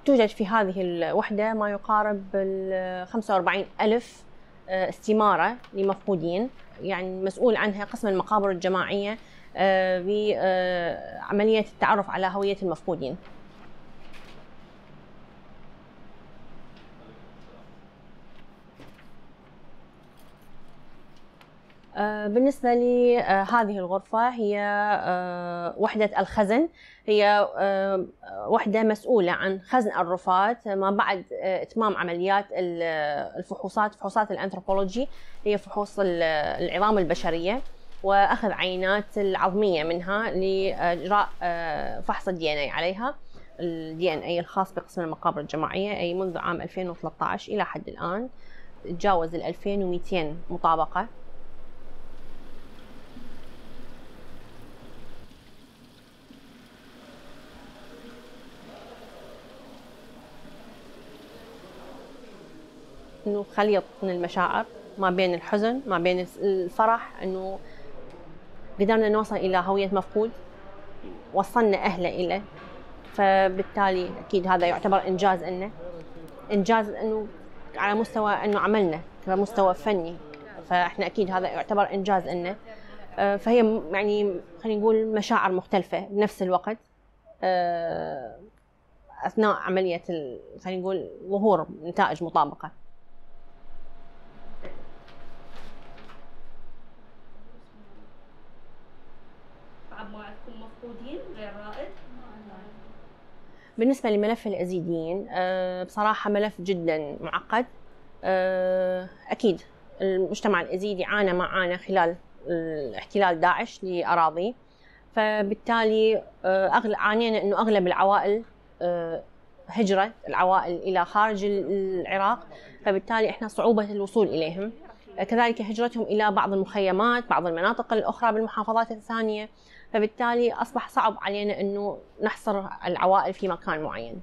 توجد في هذه الوحدة ما يقارب 45,000 استمارة لمفقودين، يعني مسؤول عنها قسم المقابر الجماعية بعملية التعرف على هوية المفقودين. بالنسبة لهذه الغرفة هي وحدة الخزن، هي وحدة مسؤولة عن خزن الرفات ما بعد إتمام عمليات فحوصات الأنثروبولوجي، هي فحوص العظام البشرية وأخذ عينات العظمية منها لإجراء فحص الDNA عليها، الDNA الخاص بقسم المقابر الجماعية، أي منذ عام 2013 إلى حد الآن تجاوز 2200 مطابقة. إنه خليط من المشاعر ما بين الحزن ما بين الفرح، إنه قدرنا نوصل إلى هوية مفقود، وصلنا أهله إليه، فبالتالي أكيد هذا يعتبر إنجاز إلنا، إنجاز إنه على مستوى إنه عملنا كمستوى فني، فإحنا أكيد هذا يعتبر إنجاز إلنا. فهي يعني خلينا نقول مشاعر مختلفة بنفس الوقت أثناء عملية خلينا نقول ظهور نتائج مطابقة. عندكم مفقودين غير رائد؟ بالنسبة لملف الأزيديين بصراحة ملف جدا معقد. أكيد المجتمع الأزيدي عانى ما عانى خلال احتلال داعش لأراضيه، فبالتالي عانينا إنه أغلب العوائل هجرت العوائل إلى خارج العراق، فبالتالي إحنا صعوبة الوصول إليهم، كذلك هجرتهم إلى بعض المخيمات بعض المناطق الأخرى بالمحافظات الثانية، فبالتالي أصبح صعب علينا إنه نحصر العوائل في مكان معين.